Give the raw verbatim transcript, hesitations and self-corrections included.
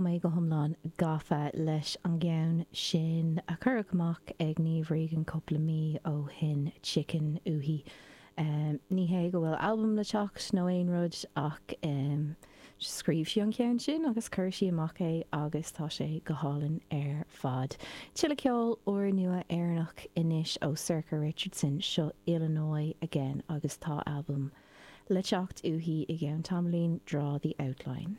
Tá mé go hiomlán gafa leis an gceann sin a cuireadh amach ag Niamh Regan cúpla mí ó shin Chicken uaithi. Um, ní hé go bhfuil albam le teacht nó aon rud ach um, scríobh sí an ceann sin agus chuir sí amach é agus tá sé go hálainn ar fad. Tuilleadh ceol úrnua Éireannach anois ó Sorcha Richardson seo Illinois again agus tá albam le teacht uaithi i gceann tamaillín Draw the Outline.